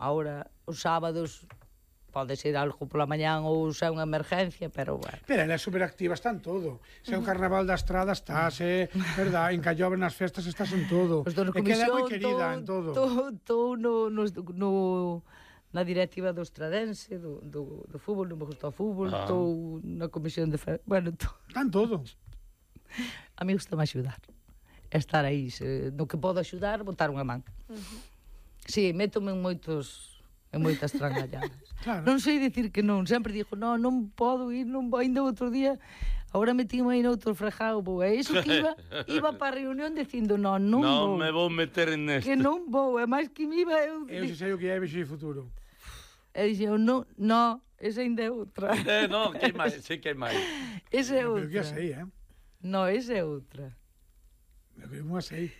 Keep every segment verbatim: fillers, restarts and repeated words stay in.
Ahora, os sábados pode ser algo pola mañán ou se é unha emergencia, pero bueno. Pero ela é superactiva, está en todo. Se é o Carnaval da Estrada, estás, eh, verdad? En Callobre, nas festas, estás en todo. Os donos É que ela é moi comisión, querida en todo. Estou no, no, no, na directiva do Estradense, do, do, do fútbol, non me gusta o fútbol, estou ah. na comisión de... Fe... Bueno, tô... Está en todo. A mí gusta-me axudar. Estar aí, se, no que podo axudar, botar unha man. Uh -huh. Si, sí, métome en moitos... en moitas trangalladas. Claro. Non sei dicir que non, sempre dixo, non, non podo ir, non vou, ainda outro día, agora metíme aí noutro fregado, vou, é iso que iba, iba para a reunión dicindo, non, non no vou. Non me vou meter en neste. Que non vou, é máis que me iba... Eu, eu sei o que é Vexo e Futuro. E dixo, non, non, esa ainda é outra. Eh, non, que hai máis, sei que hai máis. Esa é outra. Eu que a sei, eh? Non, esa é outra. Eu que a sei.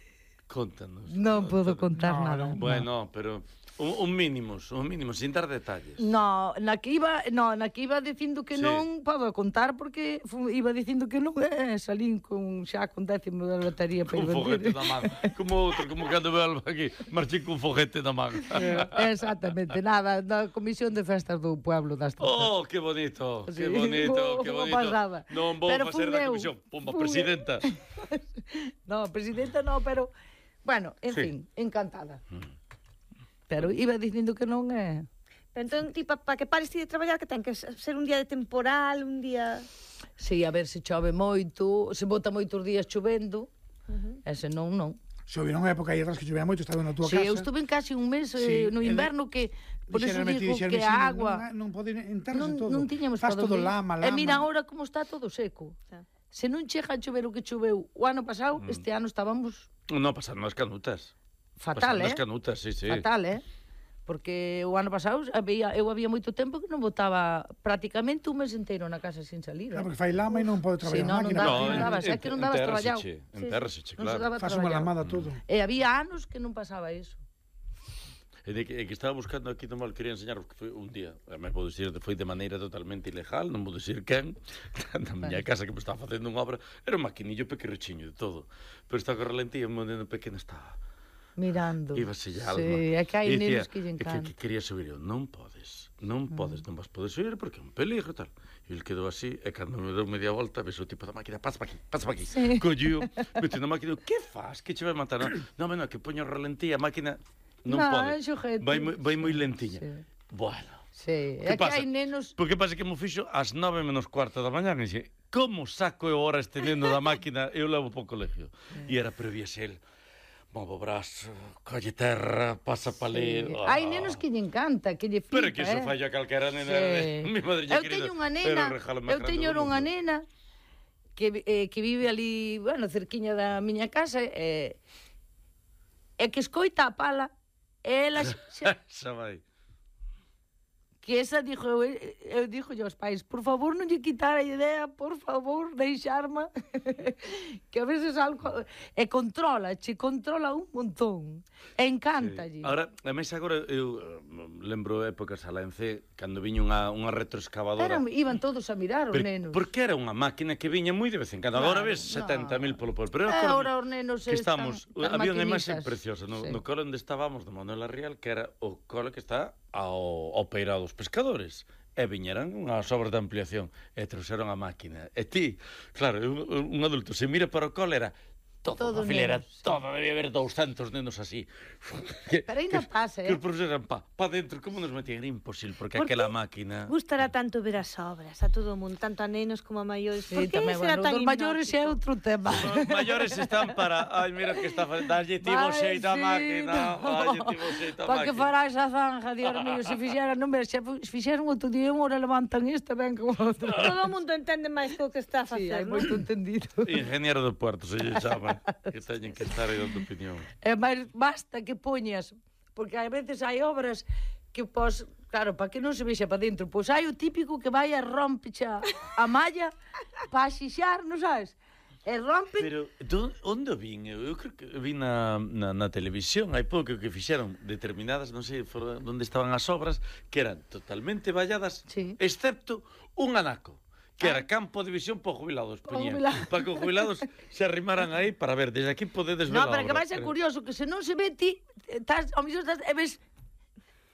Contanos. Non podo contar no, nada. No, bueno, no. pero un, un mínimos, un mínimos, sin dar detalles. No, na que iba, no, na que iba dicindo que sí. non podo contar porque fu, iba dicindo que non, eh, salín con xa con décimo da lotería para ir vender. Con foguete da man. Como outro, como cando veo algo aquí, marchei con foguete da man. Eh, exactamente, nada, na comisión de festas do pueblo das Tozas. Oh, que bonito, sí. que bonito, oh, que bonito. Pasada. Non vou pero facer da comisión, pumba, presidenta. No, presidenta no, pero bueno, en sí. fin, encantada. Mm. Pero iba dicindo que non é... Pero entón, tipo, para que pares ti de traballar, que ten que ser un día de temporal, un día... Sí, a ver se chove moito, se bota moitos días chovendo, uh -huh. e se non, non. Chove nunha época aí atrás que chovía moito, estaba na túa sí, casa. Sí, eu estuve en casi un mes sí, eh, no inverno que... Por eso digo que a agua... Non, non pode enterrarse non, todo. Non tiñamos Faz todo lama, lama. E mira agora como está todo seco. Sí. Se non chega a chover o que choveu o ano pasado, mm. este ano estábamos... Non, pasaron as canutas. Fatal, pasaron eh? as canutas, sí, sí. Fatal, eh? Porque o ano pasado había, eu había moito tempo que non botaba prácticamente un mes inteiro na casa sin salir. Claro, porque fai lama e non pode traballar sí, a máquina. Non, non daba, é que non dabas traballado. Entérrase, claro. Faz unha lamada todo. E había anos que non pasaba iso. E de que, e que estaba buscando aquí no mal, quería enseñar que foi un día, me podo dicir, foi de maneira totalmente ilegal, non vou dicir quen, na miña casa que me estaba facendo unha obra, era un maquinillo pequerrechiño de todo, pero estaba con relentía, un momento pequeno estaba mirando. Iba se alma. Sí, é que hai nenos que lle encanta. Que, que quería subir eu, non podes, non podes, mm. non vas poder subir porque é un peligro tal. E ele quedou así, e cando me deu media volta, ves o tipo da máquina, pasa pa aquí, pasa pa aquí. Sí. Collío, meteu na máquina, que faz? Que che vai matar? Non, non, no, que poño relentía, a máquina non no, pode. Vai, vai moi lentiña. Sí. Bueno. Sí, é que hai nenos... Porque pasa que mo fixo ás nove menos cuarto da mañá, e dixe, como saco eu ahora este neno da máquina, eu levo po colegio. E era, pero viese el, movo o brazo, colle terra, pasa pa ali... Sí. Oh. Hai nenos que lle encanta, que lle flipa, pero que iso eh? falla calquera nena. Sí. Mi madre eu teño unha nena, eu teño unha nena que, eh, que vive ali, bueno, cerquiña da miña casa, e eh, que escoita a pala, e ela... Xa vai. Que esa dixo, eu, eu dixo aos pais, por favor non lle quitar a idea, por favor, deixarma que a veces algo e controla, che controla un montón e encántalle. Sí. Ahora, a máis agora eu lembro épocas a Lancé cando viña unha, unha retroexcavadora. Eran, iban todos a mirar os pero, nenos. Porque era unha máquina que viña moi de vez en cando. Claro, agora ves no. setenta mil polo polo. Pero eh, agora os nenos que estamos, están había unha imaxe preciosa no, sí. no cole onde estábamos de Manuel Arrial, que era o cole que está ao, ao peirao dos pescadores, e viñeran unhas obras de ampliación e trouxeron a máquina, e ti, claro, un, un adulto se mira para o cole era todo, todo a filera, nenos, todo, sí. Debía haber doscientos nenos así. Que, pero ainda pasa, eh? Que os profesores eran pa, pa dentro, como nos metían? Era imposible, porque ¿por aquela máquina... Gustará tanto ver as obras, a todo o mundo, tanto a nenos como a maiores. Sí, por que tamén, será bueno, tan hipnótico? Os maiores é outro tema. Os maiores están para, ai, mira que está facendo, dalle tivo xeito a máquina, dalle tivo xeito a máquina. Pa que fará esa zanja, Dios mío, se fixeran, non ver, se fixeran outro día, unha hora levantan esta, ben como outra. Todo o mundo entende máis que o que está a facer, sí, hai moito entendido. Ingeniero do Puerto, se lle chama, que teñen que estar aí dando opinión. É máis basta que poñas, porque a veces hai obras que pos, claro, para que non se vexa para dentro, pois hai o típico que vai a rompecha a malla para xixar, non sabes? E rompen... Pero, do, onde vin? Eu, eu creo que vin na, na, na televisión, hai pouco que fixeron determinadas, non sei for, onde estaban as obras, que eran totalmente valladas, sí. Excepto un anaco. Que era campo de visión para jubilados, poñían, para que os jubilados se arrimaran aí para ver, desde aquí podedes ver no, a obra. No, pero que vai ser curioso, que se non se ve ti, estás, ao mellor estás, e ves